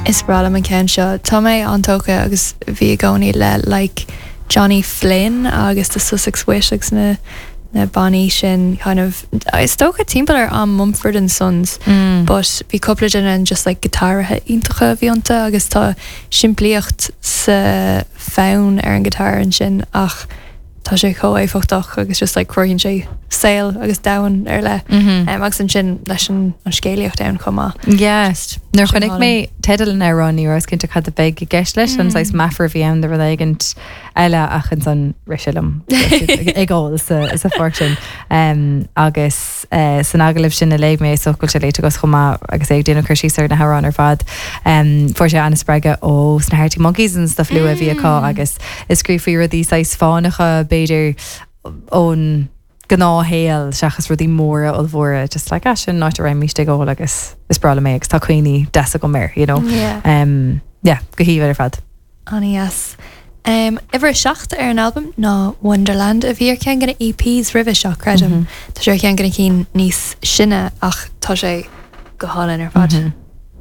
Is breá liom an ceann seo. Tá mé an-tógtha agus bhí i gcónaí le like Johnny Flynn agus The Sussex Wit agus na na bannaí sin kind of is dócha timpeall ar am Mumford and Sons but bhí cúpla duine an just like giotáraithe iontacha a bhí iontu agus tá simplíocht sa fonn ar an guitar ansin ach tá sé chomh éifeachtach agus just like cruthaíonn sé saol agus domhan ar leith agus ansin leis an an scéalaíocht ann chomh maith. Yeah. Nuair a chonaic mé teideal an amhráin ní rabhas cinnte cad a bheadh i gceist leis, an saghas meafar a bhí ann do rud éigint eile ach ansan rith sé liom ag ól sa sa pháirc sin. Agus san agallamh sin a léigh mé, is dócha go bhfuil sé léite agat chomh maith agus é ag déanamh cur síos ar na hamhráin ar fad, fuair sé an-spreagadh ó sna Arctic Monkeys an stuff luath a bhí acu agus ag scríobh faoi rudaí saghas fánacha b'fhéidir ón gnáthshaol seachas rudaí móra ollmhóra just like ah sin an áit a raghaimíst ag ól agus is breá liom é agus tá cuimhní deasa agam air you know. Yeah. Yeah, go haoibhinn ar fad. An-dheas. Uimhir a 7 ar an albam ná Wonderland, a bhí ar cheann de na EPs roimhe seo, creidim. Tá sé ar cheann de na cinn níos sine ach tá sé go hálainn ar fad.